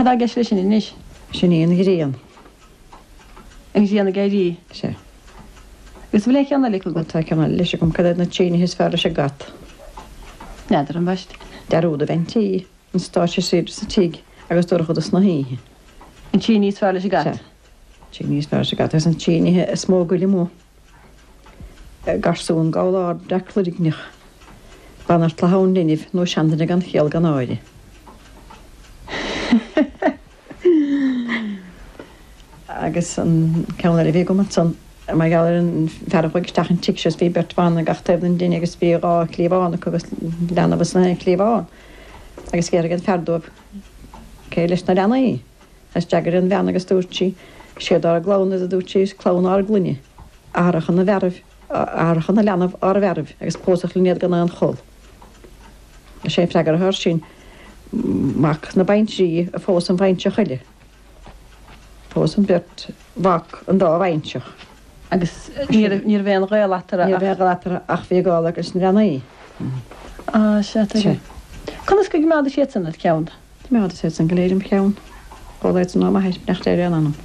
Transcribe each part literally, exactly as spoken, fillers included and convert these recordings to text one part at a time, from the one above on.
Cad tá i gceist leis sin anois? Sin í an ghrian. An ghrian ag éirí? Sea. Agus an bhfuil aon cheann eile acu? Tá ceann eile leis agam, cad iad na trí nithe is fearr leis an gcat? N'fheadar, ambaist. Dearúd a bheith an tí, an stáitse saoire sa tigh agus dorchadas na hoíche. An trí ní is fearr leis an gcat? Sea. Trí ní is fearr leis an gcat agus an trí nithe is mó goil amuigh. Garsún gabhal ard breac loirgneach, banaltra thonn linbh nó seanduine gan chiall gan náire. Agus an ceann eile a bhí agam ansan, mar gheall ar an fear a chuaigh isteach an tigh seo is bhí beirt bhan ag gach taobh den dtine agus bhí dhá chliabhán acu agus leanbh ins an aon chliabhán agus d'fhiafraigh an fear dóibh cé leis na leanaí agus d'fhreagair an bhean agus dúirt sí, Siad ár gclann iad a dúirt sí, is clann ár gclainne. Athracha na bhfearaibh, athracha na leanbh ár bhfearaibh agus pósadh linn iad gan aon chol. Is é an freagra atá air sin, mac na baintrí a phós an bhaintreach eile. Phós an bheirt mhac an dá bhaintreach. Agus ní raibh, ní raibh aon ghaol eatarthu ach. Ní raibh aon ghaol eatarthu ach bhí gaol acu leis na leanaí. Á, sea, tuigim. Conas go gcoimeádais iad san id cheann? Choimeádas iad san go léir im cheann. Chuala iad san ó m'athair, beannacht Dé ar a anam.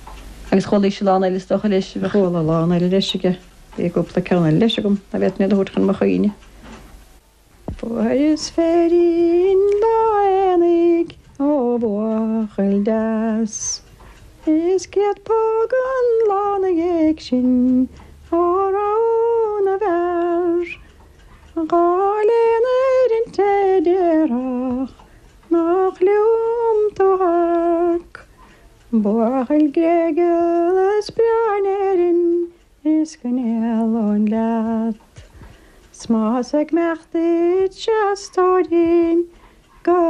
Agus chualaís a lán eile is dócha leis, bheadh. Chuala a lán eile leis aige. Bhí cúpla ceann eile leis agam, ná féadfainn iad a thabhairt chun mo chuimhne. Fuaireas féirín lá aonaigh ó bhuachaill deas, Is céad póg an lá 'na dhiaidh sin ó rogha na bhfear. Dhá léan ar an té déarfadh nach liom tú amharc. Buachaill gréigeal is breá in Éirinn is go n-éalóinn leat. 'S más ag imeacht duit-se a stóirín go.